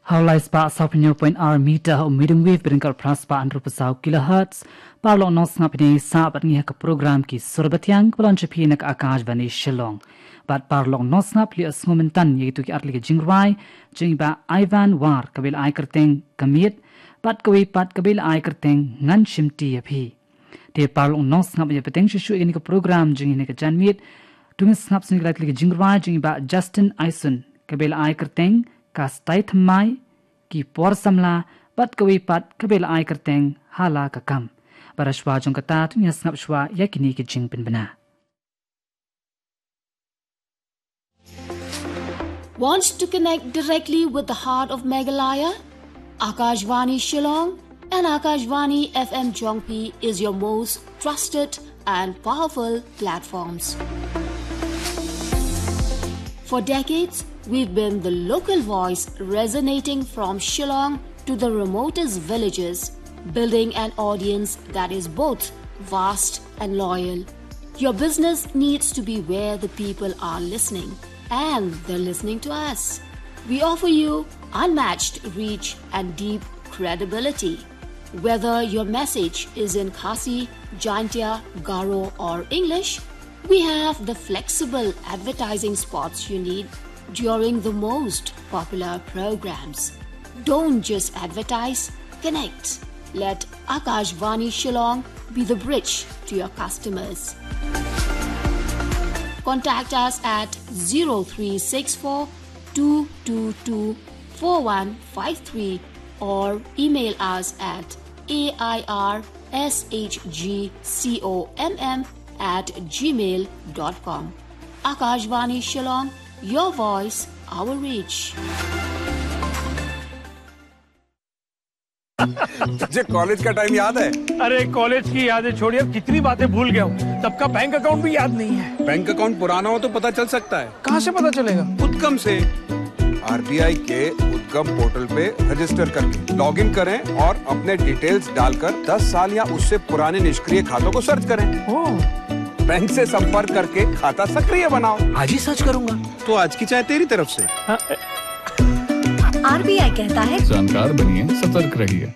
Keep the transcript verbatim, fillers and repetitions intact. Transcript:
Hawlai spah saw phew point ar meter ha u medium wave bad ryngkat phra spah hynriew phew saw kilohertz. Paralok nongsngap, phi dang ïa sah bad ngi ha ka program Ki Sur Bathiang kaba la wan sha phi na ka Akashvani Shillong. Bad paralok nongsngap, phi la ïohsngew mynta ïa kito ki artylli ki jingrwai jong i bah Ivan War, kaba la ai kyrteng Ka Miet, bad kawei pat kaba la ai kyrteng Ngan Shimti ïa Phi. Te paralok nongsngap, ïa bteng shuh shuh ïa kane ka program jong ngi ha kane ka janmiet, to ngin sngap shuh ïa ki lai tylli ki jingrwai jong i bah Justin Aison, kaba la ai kyrteng Ka Stai Thymmai, Ki Por Samla, bad kawei pat kaba la ai kyrteng Ha La Ka Kam. Bad ha shuwa jong kata, to ngin sngap shuwa ïa kine ki jingpynbna. Want to connect directly with the heart of Meghalaya? Akashvani Shillong and Akashvani F M Jongphi is your most trusted and powerful platforms. For decades, we've been the local voice resonating from Shillong to the remotest villages, building an audience that is both vast and loyal. Your business needs to be where the people are listening, and they're listening to us. We offer you unmatched reach and deep credibility. Whether your message is in Khasi, Jaintia, Garo, or English, we have the flexible advertising spots you need during the most popular programs. Don't just advertise, connect. Let Akashvani Shillong be the bridge to your customers. Contact us at zero three six four two two two four one five three or email us at A I R S H G C O M M at gmail dot com. Akashvani Shillong, your voice, our reach. तुझे कॉलेज का टाइम याद है? अरे, कॉलेज की यादें छोड़िए, अब कितनी बातें भूल गया हूँ। तब का बैंक अकाउंट भी याद नहीं है। बैंक अकाउंट पुराना हो तो पता चल सकता है। कहाँ से पता चलेगा? उद्गम से। आरबीआई के उद्गम पोर्टल पे रजिस्टर करके लॉग इन करें और अपने डिटेल्स डालकर दस साल या उससे पुराने निष्क्रिय खातों को सर्च करें। ओह। बैंक से संपर्क करके खाता सक्रिय बनाओ। आज ही सर्च करूंगा। तो आज की चाय तेरी तरफ से। हाँ। आरबीआई कहता है, जानकार बनिए, सतर्क रहिए।